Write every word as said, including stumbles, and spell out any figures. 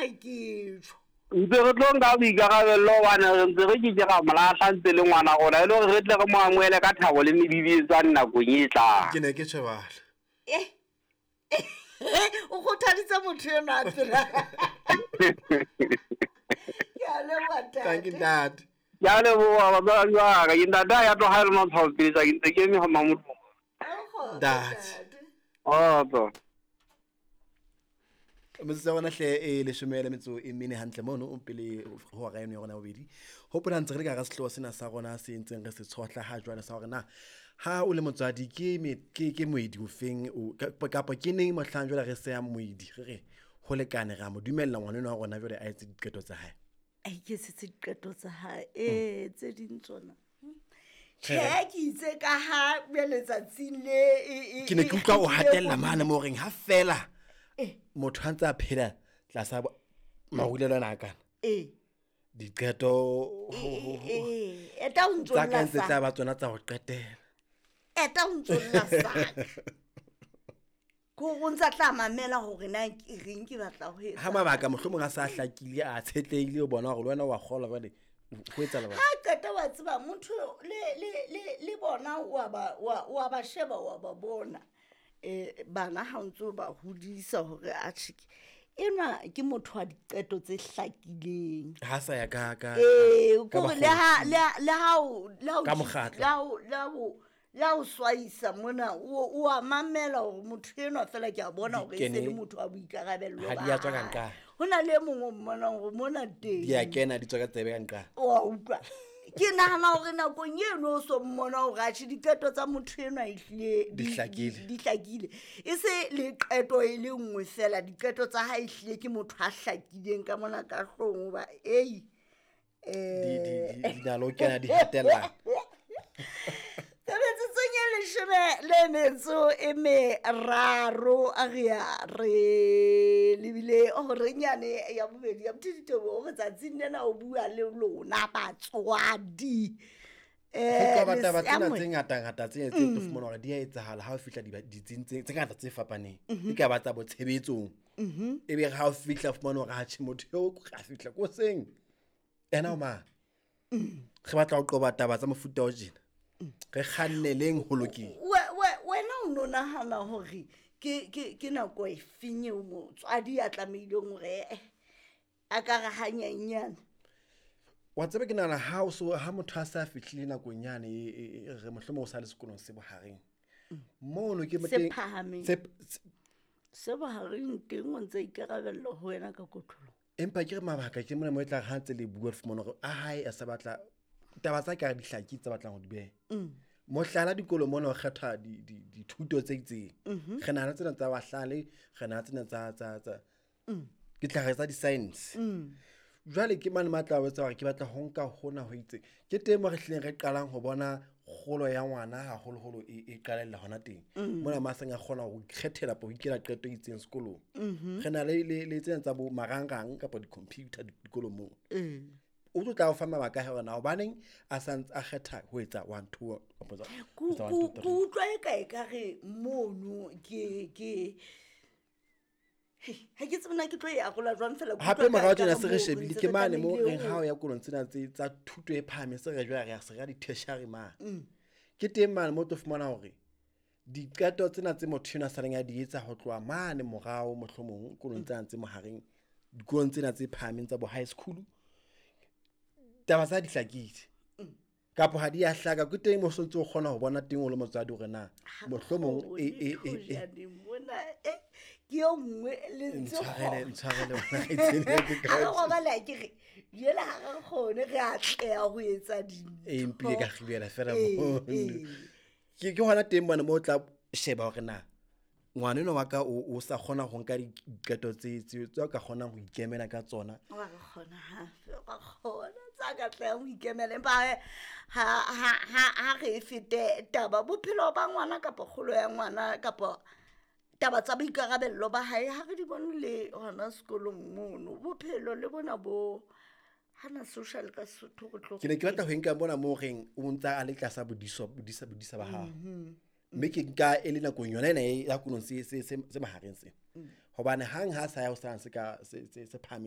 ha ke tjho. Ntse re tlo nka boikarabello hobane re ntse re ke ke ra mo lahla ntse le ngwana rona e le hore re tle re mo amohele ka thabo le mebibietsane nakong e tlang. Ke ne ke tjhebala. Eh. O kgothaditse motho enwa a phela. Ke a leboha ntate. Thank you ntate. Ke a leboha batswadi ba ka. Ke ntate ha ya tloha e le matshwao pele tsa ke ntse ke eme ha Mamodumo. Ntate. Kgotso. Metsotso ya rona hle e leshome le metso e mene hantle mono o pele ho hora eno ya rona ya bobedi. Hopola ntse re le ka hara sehlooho sena sa rona se ntseng re se tshohla ha jwale sa hore na ha o le motswadi ke me ke ke moedi ofeng o kapa ke neng mohlang jwale re sehang moedi re re ho lekane re a mo dumella ngwana enwa wa rona jwale a etse diqeto tsa hae. A iketsetse diqeto tsa hae eh tse ding tsona. Tjhe ke itse ka ha letsatsing le e Ke ne ke utlwa o hatella mane mo reng ha fela motho ha ntse a phela tlasa marulelo ana a kana. Eh. Diqeto eh eta o ntso tsa ka ntse tla ba tsona tsa ho qetela. Eta o ntso lla saka. Ko o ntsa tla mamela hore na ke reng ke batla ho etsa. Ha mabaka mohlomong a sa hlakile a tshetlehile o bona hore le wena wa kgolwa jwale ho etsahala jwang. Ha qeta wa tseba motho le le le le bona wa ba wa ba sheba wa ba bona. Eh bana ha ntso ba hodisa hore a tjhe enwa ke motho wa diqeto tse hlakileng. Ha sa ya ka ka eh kore le ha le le ha le ha ka mokgatlo le ha le ha le ha o swaisa mona o a mamela hore motho enwa fela ke a bona hore e se le motho wa boikarabello ha di a tswa ka nqa. Ho na le mongwe o mmonang hore mona teng di a kena di tswa ka tsebe ka nqa. O a utlwa. Ke nahana hore nakong eno o so mmona hore atjhe diqeto tsa motho enwa ehlile di hlakile. Di hlakile. E se le qeto e le nngwe fela diqeto tsa hae ehlile ke motho a hlakileng ka mona ka hloohong hoba ei eh di di di na lo kena di hatella. Metsotsong e leshome le metso e meraro a re ya re lebile horenyane ya bobedi ya Bothiteboho hore tsatsing lena o bua le lona batswadi. Eh ho qoba taba tsena tse ngata ngata tse tse tlo fumana hore di a etsahala ha o fihla ditsing tse ngata tse fapaneng. Di ka ba tsa botshebetsong. Ebe ha o fihla fumana hore ha tjhe motho eo a fihla ko seng. Ena o mang? Re batla ho qoba taba tsa mofuta o tjena. Re kganneleng ho lokile. Wena o no nahana hore ke ke ke nako e feng eo motswadi a tlamehileng hore a ka re hanyenyane? Wa tseba ke nahana ha o so ha motho a sa fihlile nakong yane re mohlomong o sa le sekolong se bohareng. Mono ke se phahameng. Se bohareng teng o ntse ikarabella ho wena ka kotlolo. Empa ke re mabaka ke mona mo e tla ha ntse le bua fumana hore a hae a sa batla taba tsa ka di hlaki tsa batlang ho di beha. Mohlala dikolo mona o kgetha di dithuto tse itseng. Re nahana tsena tsa bahlale, re nahana tsena tsa tsa tsa ke tla re tsa di-science. Jwale ke mane matla a etsa hore ke batla ho nka hona ho itseng. Ke teng mo re hlileng re qalang ho bona kgolo ya ngwana haholoholo e qalella hona teng. Mona ma seng a kgona ho ikgethela ho ikela qeto e itseng sekolong. Re na le le tsena tsa bo marangrang kapa di-computer dikolong moo. O tlo tla o fa mabaka hore na hobaneng a sa ntse a kgetha ho etsa one two kapa ku utlwa e ka e ka re mono ke ke ha ke tsebe na ke tlo e arola jwang fela. Hape morao tjena se re shebile ke mane mo reng ha o ya kolong tsena tse tsa thuto e phahameng se re jwale re ya se re ya di-tertiary mane. Ke teng mane mo tlo fumana hore diqeto tsena tse motho enwa a saleng a di etsa ho tloha mane morao mohlomong kolong tsena tse mohareng dikolong tsena tse phahameng tsa bo high school taba tsa di hlakile kapa ha di a hlaka ke teng mo sontse o kgona ho bona teng o le motswadi hore na mohlomong e e e mona e ke yo nngwe le ntse ntshwarele ntshwarele wena ke ka robala ke re jela ha re kgone re atleha ho etsa dintho e mpile ka kgibela fela mo ke ke hona teng bona mo tla sheba hore na ngwana enwa wa ka o sa kgona ho nka diqeto tse tse tse ka kgonang ho ikemela ka tsona. Wa re kgona hape wa kgona tsa ka tla ho ikemela empa ha ha ha re fete taba bophelo ba ngwana kapa kgolo ya ngwana kapa taba tsa boikarabello ba hae ha re di bone le hona sekolong mono bophelo le bona bo hana social ka Sotho go tlo ke ne ke batla ho nka bona mo reng o ntsa a le tlasa bodiso bodisa bodisa ba hao. Mme ke nka e le nakong yona ena ya kolong se se se mahareng se. Hobane hang ha sa ya ho sa se ka se se phahameng.